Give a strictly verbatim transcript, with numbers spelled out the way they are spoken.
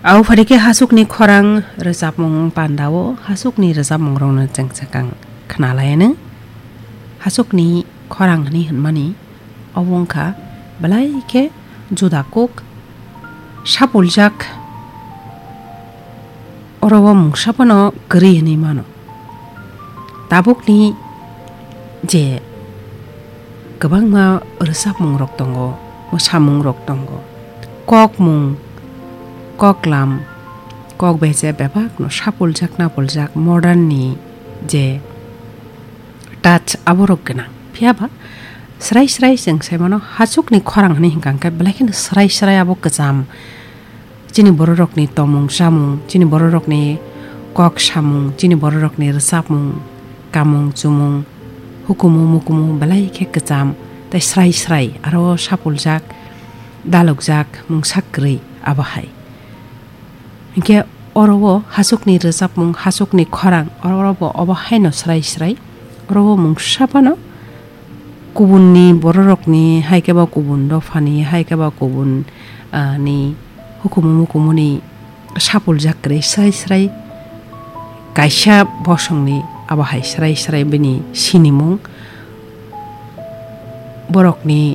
Au phari khe hasukni khorang rwchapmung pandao hasukni rwchapmungrokno chwng swkang khnalayanw. Hasukni khorang hwnwi hwnmani obo wngkha belai khe juda kuk sapuljak, oro o mungsa phano kwrwi hwnwi mano. Tabukni je kwbangma rwchapmungrok tongo, mwsamungrok tongo, kokmung, koklam, kok beje bebakno sapuljak napuljak modern ni je touch aborok gwnang. Phiya ba srai srai chwng sai mano hasukni khorang hwnwi hwnkha hwnkhe belai kheno srai srai abo kwcham. Chini bororokni tongmung chamung, chini bororokni kok samung, chini bororokni rwchapmung, kamung chumung, hukumu mukumu belai khe kwcham tei srai srai aro sapuljak, dalukjak, mungsa kwrwi abo hai. Hinkhe oro o hasukni rwchapmung, hasukni khorang, oro bo obo haino srai srai, oro o mungsa phano kubunni bororokni, hai khe ba kubun dophani, hai khe ba kubun, ah, ni hukumu mukumuni sapuljak kwrwi srai srai kaisa bosongni abo hai srai srai bini sinimung, borokni